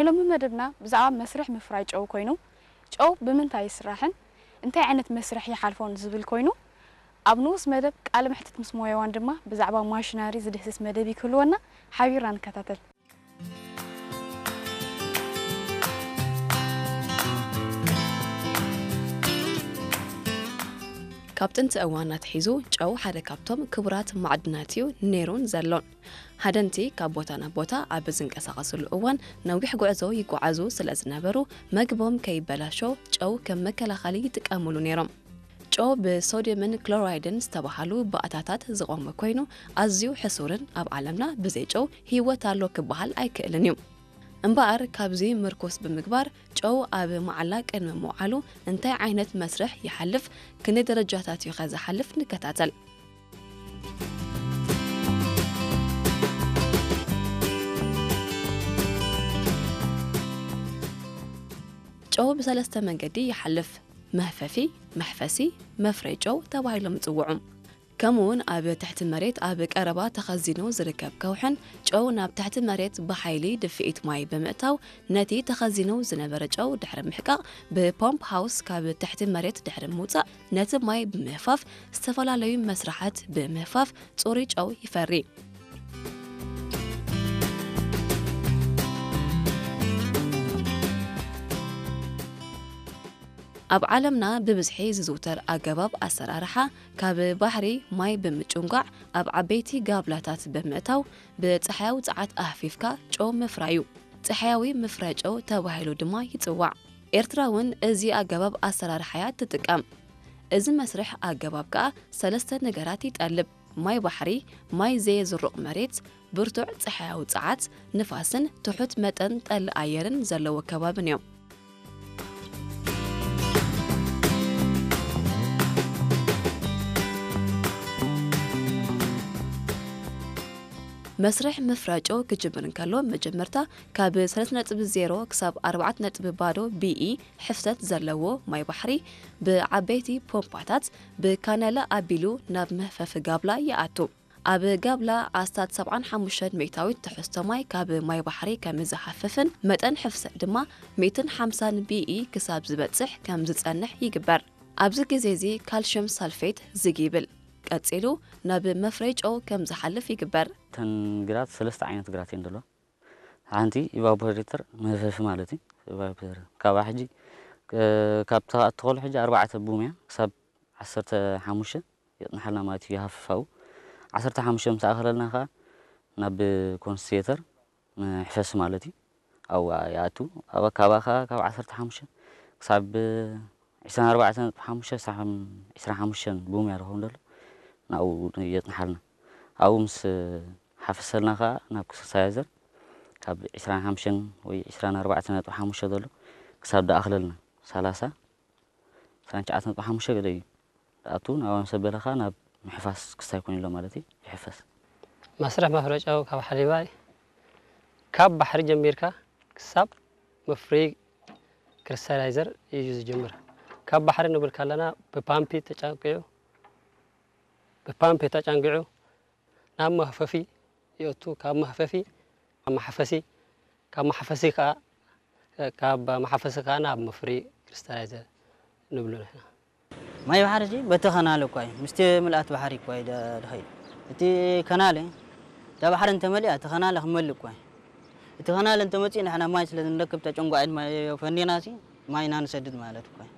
ሎሚ መደብና ብዛዕባ መስርሕ ምፍራይ ጨው ኮይኑ፣ ጨው ብምንታይ ይስራሕን እንታይ ዓይነት መስርሕ ይሓልፎን ዝብል ኮይኑ፣ ኣብ ንኡስ መደብ ቃለ መሕትት ምስ ሞያዋን ድማ ብዛዕባ ማሽነሪ ዝድህስስ መደብ ክህልወና ሓቢርና ንከታተል። ካብ ጥንቲ እዋን ኣትሒዙ ጨው ሓደ ካብቶም ክቡራት ማዕድናት እዩ ነይሩን ዘሎን። ሃደንቲ ካብ ቦታ ናብ ቦታ ኣብ ዝንቀሳቐስሉ እዋን ነዊሕ ጉዕዞ ይጓዓዙ ስለ ዝነበሩ፣ መግቦም ከይበላሾ ጨው ከም መከላኸሊ ይጥቀሙሉ ነይሮም። ጨው ብሶድየምን ክሎራይድን ዝተባህሉ ባእታታት ዝቖመ ኮይኑ፣ ኣዝዩ ሕሱርን ኣብ ዓለምና ብዘይ ጨው ህይወት ኣሎ ክበሃል ኣይክእልን እዩ። እምበኣር ካብዚ ምርኩስ ብምግባር ጨው ኣብ መዓላ ቅድሚ ምውዓሉ እንታይ ዓይነት መስርሕ ይሓልፍ፣ ክንደይ ደረጃታት እዩ ከ ዝሓልፍ ንከታተል። ጨው ብሰለስተ መንገዲ ይሓልፍ። መህፈፊ፣ መሕፈሲ፣ መፍረይ ጨው ተባሂሎም ይጽውዑ። ከምኡውን ኣብ ትሕቲ መሬት ኣብ ቀረባ ተኸዚኑ ዝርከብ ከውሕን ጨው ናብ ትሕቲ መሬት ብሓይሊ ድፍኢት ማይ ብምእታው ነቲ ተኸዚኑ ዝነበረ ጨው ድሕሪ ምሕቃቕ ብፖምፕ ሃውስ ካብ ትሕቲ መሬት ድሕሪ ምውጻእ ነቲ ማይ ብምህፋፍ ዝተፈላለዩ መስርሓት ብምህፋፍ ጽሩይ ጨው ይፈሪ። ኣብ ዓለምና ብብዝሒ ዝዝውተር ኣገባብ ኣሰራርሓ ካብ ባሕሪ ማይ ብምጭንጓዕ ኣብ ዓበይቲ ጋብላታት ብምእታው ብጸሓያዊ ጸዓት ኣህፊፍካ ጨው ምፍራይ እዩ። ጸሓያዊ ምፍራይ ጨው ተባሂሉ ድማ ይጽዋዕ። ኤርትራ እውን እዚ ኣገባብ ኣሰራርሓ እያ ትጥቀም። እዚ መስርሕ ኣገባብ ከኣ ሰለስተ ነገራት ይጠልብ። ማይ ባሕሪ፣ ማይ ዘየዝሩቕ መሬት፣ ብርቱዕ ጸሓያዊ ጸዓት፣ ንፋስን ትሑት መጠን ጠሊ ኣየርን ዘለዎ ከባብን እዮም። መስርሕ ምፍራይ ጨው ክጅምር እንከሎ መጀመርታ ካብ ሰለስተ ነጥቢ ዜሮ ክሳብ ኣርባዕተ ነጥቢ ባዶ ቢኢ ሕፍሰት ዘለዎ ማይ ባሕሪ ብዓበይቲ ፖምፓታት ብካናለ ኣቢሉ ናብ መህፈፊ ጋብላ ይኣቱ። ኣብ ጋብላ ኣስታት ሰብዓን ሓሙሽተን ሚእታዊት ትሕዝቶ ማይ ካብ ማይ ባሕሪ ከም ዝሃፍፍን መጠን ሕፍሰት ድማ ሚእትን ሓምሳን ቢኢ ክሳብ ዝበጽሕ ከም ዝጸንሕ ይግበር። ኣብዚ ግዜ እዚ ካልሽየም ሳልፌት ዝግ ይብል። ቀጺሉ ናብ መፍረይ ጨው ከም ዝሓልፍ ይግበር። እተን ግራት ሰለስተ ዓይነት ግራት እየን ዘለዋ። ሓንቲ ኢቫፖሬተር መህፈፊ ማለት እዩ። ኢቫፖሬተር ካብኣ ሕጂ፣ እ፣ ካብ ተኻ-፣ እትኸሉ ሕጂ ኣርባዕተ ቡምያ ክሳብ ዓሰርተ ሓሙሽተ የጽንሓልና ማለት እዩ፣ ይሃፍፋው። ዓሰርተ ሓሙሽተ ምስ ኣኸለልና ከኣ ናብ ኮንስትሬተር መሕፈሲ ማለት እዩ። ኣብኡ ይኣቱ። ኣብ ኣካባ ከኣ ካብ ዓሰርተ ሓሙሽተ ክሳብ ዕስራን ኣርባዕተን ነጥቢ ሓሙሽተ ሳሕም ዕስራን ሓሙሽተን ቡምያ ዝኸውን ዘሎ ናብኡ የጽንሓልና። ኣብኡ ምስ ሓፈሰልና ከኣ ናብ ክሪስታላይዘር ካብ ዕስራን ሓሙሽተን ወይ ዕስራን ኣርባዕተን ነጥቢ ሓሙሽተ ዘሎ ክሳብ ደኣኽለልና ሰላሳ ዕስራን ትሽዓተ ነጥቢ ሓሙሽተ ገለ እዩ። ኣቱ ናብ ኣምሰ በለኻ ናብ ምሕፋስ ክስታይ ኮይኑ ኣሎ ማለት እዩ። ይሕፈስ። መስርሕ መፍረይ ጨው ካብ ሓሊባይ ካብ ባሕሪ ጀሚርካ ክሳብ መፍረይ ክሪስታላይዘር እዩ ዝጅምር። ካብ ባሕሪ ንብል ከለና ብፓምፒ ተጫቂዑ፣ ብፓምፒ ተጫንጊዑ ናብ መህፈፊ ይእቱ። ካብ መህፈፊ ናብ መሓፈሲ፣ ካብ መሓፈሲ ከኣ፣ ካብ መሓፈሲ ከኣ ናብ መፍሪ ክሪስታላይዘር ንብሎ ንሕና። ማይ ባሕሪ እዚ በቲ ከናለ እኳ እዩ፣ ምስቲ ምልኣት ባሕሪ እኳ እዩ ደ-፣ ድኸይድ። እቲ ከናለ፣ እታ ባሕሪ እንተመሊኣ፣ እቲ ከናለ ክመልእ እኳ እዩ። እቲ ከናለ እንተመጺኡ፣ ንሕና ማይ ስለ ንረክብ፣ ተጨንጓዒት ማይ ፈኒና ሲ፣ ማይ ኢና ንሰድድ ማለት እኳ እዩ።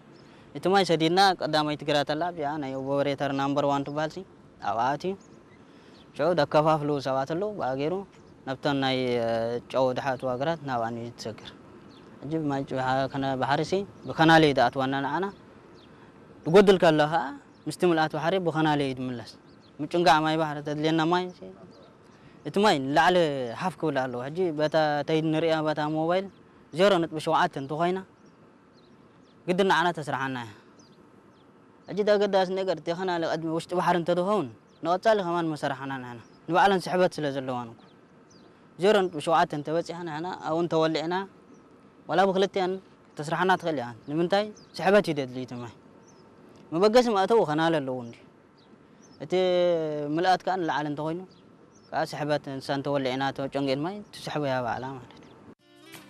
እቲ ማይ ሰዲድና፣ ቀዳማይቲ ግራት ኣላ፣ ኣብዚኣ ናይ ኦፐሬተር ናምበር ዋን ትበሃል ሲ፣ ኣብኣ ኣትዩ። ሽዑ ደከፋፍሉ ሰባት ኣለዉ፣ ብኣገይሩ ናብተን ናይ፣ እ፣ ጨው ድሓትዋ ግራት ናብኣን እዩ ትሰግር። ሕጂ ብማይ ጭ-፣ ብሓ-፣ ከነ-፣ ባሕሪ ሲ ብከናለ እዩ ድኣትዋና ንዓና። ድጎድል ከሎ ኸኣ ምስቲ ምልኣት ባሕሪ ብኸናለ እዩ ድምለስ። ምጭንጋዕ ማይ ባሕሪ ተድልየና ማይ ሲ፣ እቲ ማይ ንላዕሊ ሓፍ ክብል ኣለዎ። ሕጂ በታ ተይድ ንርእያ በታ ሞባይል ዜሮ ነጥቢ ሸውዓተ እንተኾይና፣ ግድን ንዓና ተስርሓና እያ። ሕጂ እቲ ኣገዳሲ ነገር እቲ ከናለ ቅድሚ ውሽጢ ባሕሪ እንተዝኸውን፣ ንቐጻሊ ከማን መሰራሕና ንሕና። ንባዕለን ስሕበት ስለ ዘለዋን እኮ። ዜሮ ነጥቢ ሸውዓተ እንተበጺሓ ንሕና ኣብኡ እንተወሊዕና፣ ዋላ ብክልቲኣን ተስርሓና ትኽእል እያ። ንምንታይ? ስሕበት እዩ ደድሊ እቲ ማይ። መበገሲ መእተዊ ከናለ ኣለዎ እንዲ። እቲ ምልኣት ከኣ ንላዕሊ እንተኾይኑ፣ ከኣ ስሕበት ንሳ እንተወሊዕና፣ ተጨንጊን ማይ ትስሕቦ እያ ባዕላ ማለት።